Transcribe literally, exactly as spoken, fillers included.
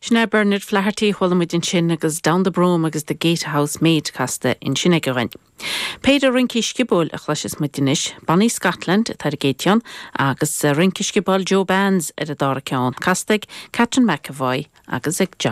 Sin é Bernard Flaherty chuala muid ansin agus Down the Broom agus the Gatehouse Maid casta ansin aige dhúinn. Péire rince sciobóil a chloisfeas muid anois, Bonnie Scotland atá ar an gcéad cheann agus rince sciobóil Joe Bands ar an dara ceann, casta ag Catherine McAvoy agus ag John